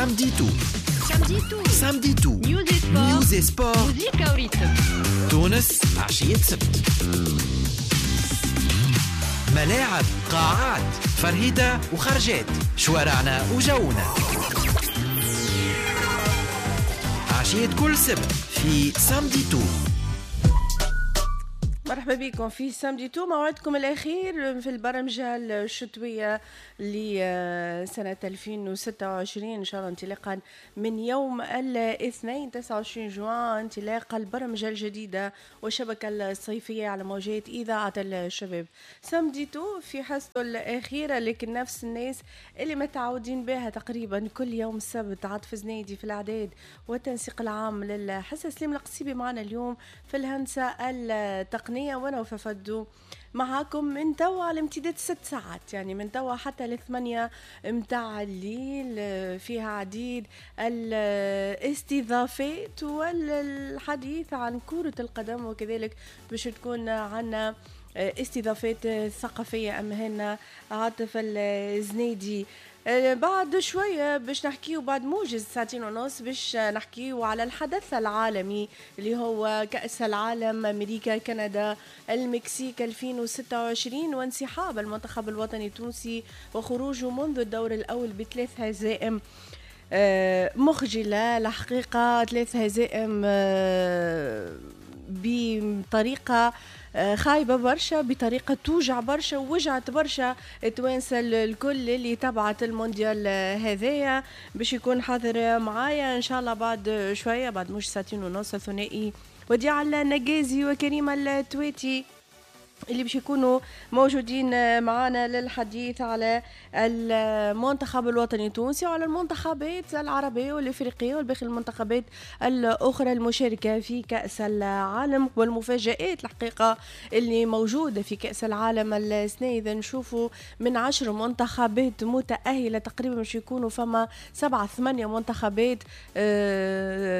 Samedi tout. Samedi tout. Samedi tout. News et sport. News et sport. Musique au rythme. تونس عشية سبت. ملاعب، قاعات، فرهدة وخرجات، شوارعنا وجونا. عشية كل سبت في Samedi tout. مرحبا بكم في Samedi tout، موعدكم الأخير في البرمجة الشتوية لسنة 2026 إن شاء الله، انطلاقا من يوم الاثنين 29 جوان، انطلاق البرمجة الجديدة والشبكة الصيفية على موجات إذاعة الشباب. Samedi tout في حصته الأخيرة، لكن نفس الناس اللي متعودين بها تقريبا كل يوم السبت، عاطف زنيدي في الأعداد والتنسيق العام للحصة، سليم القصيبي معنا اليوم في الهندسة التقنية، وانا وففدو معاكم من توا على امتداد 6 ساعات، يعني من توا حتى 8 متاع الليل. فيها عديد الاستضافات والحديث عن كرة القدم، وكذلك باش تكون عنا استضافات ثقافية أمهنا عاطف الزنيدي. بعد شوية باش نحكيو، بعد موجز 2:30 باش نحكيو على الحدث العالمي اللي هو كأس العالم أمريكا كندا المكسيك 2026، وانسحاب المنتخب الوطني التونسي وخروجه منذ الدور الأول ب3 هزائم مخجلة الحقيقة، 3 هزائم بطريقة خايبة برشا، بطريقة توجع برشا، ووجعت برشا التوانسة الكل اللي تبعت المونديال هذايا. باش يكون حاضر معايا إن شاء الله بعد شوية، بعد مش 2:30، ثنائي وديع النجازي وكريم التويتي اللي باش يكونوا موجودين معنا للحديث على المنتخب الوطني التونسي وعلى المنتخبات العربية والإفريقية والباقي المنتخبات الأخرى المشاركة في كأس العالم، والمفاجآت الحقيقة اللي موجودة في كأس العالم السنة. إذا نشوفوا من 10 منتخبات متأهلة تقريبا باش يكونوا فما 7-8 منتخبات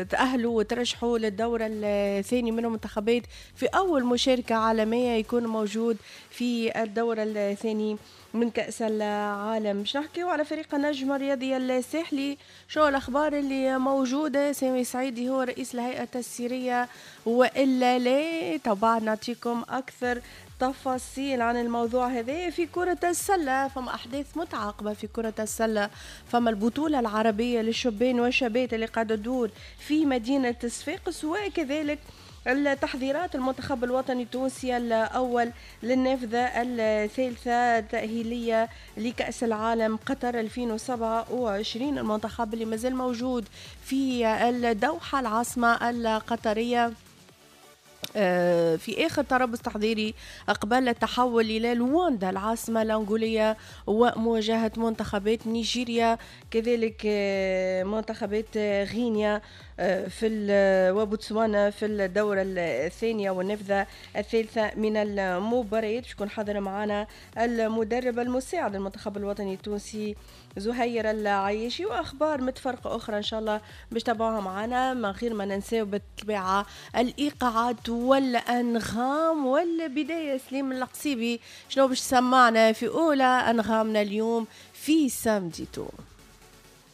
تأهلوا وترشحوا للدور الثاني، منهم منتخبات في أول مشاركة عالمية يكون موجود في الدور الثاني من كأس العالم. باش نحكيو على فريق النجم الرياضي الساحلي، شو الأخبار اللي موجودة؟ سامي سعيدي هو رئيس الهيئة التسييرية وإلا لا؟ طبعا نعطيكم أكثر تفاصيل عن الموضوع هذا. في كرة السلة فما أحداث متعاقبة في كرة السلة، فما البطولة العربية للشبان والشابات اللي قاعدة تدور في مدينة صفاقس، وكذلك التحضيرات المنتخب الوطني التونسي الأول للنافذة الثالثة التأهيلية لكأس العالم قطر 2027، المنتخب اللي مازال موجود في الدوحة العاصمة القطرية في آخر تربص تحضيري قبل التحول إلى لواندا العاصمة الأنغولية ومواجهة منتخبات نيجيريا، كذلك منتخبات غينيا في وبوتسوانا في الدورة الثانية والنافذة الثالثة من المباريات. باش يكون حاضر معنا المدرب المساعد المنتخب الوطني التونسي زهير العياشي، واخبار متفرقة اخرى ان شاء الله باش تابعوها معنا، من غير ما ننساو بالطبيعة الايقاعات والانغام. والبداية سليم القصيبي شنو باش سمعنا في اولى انغامنا اليوم في Samedi tout؟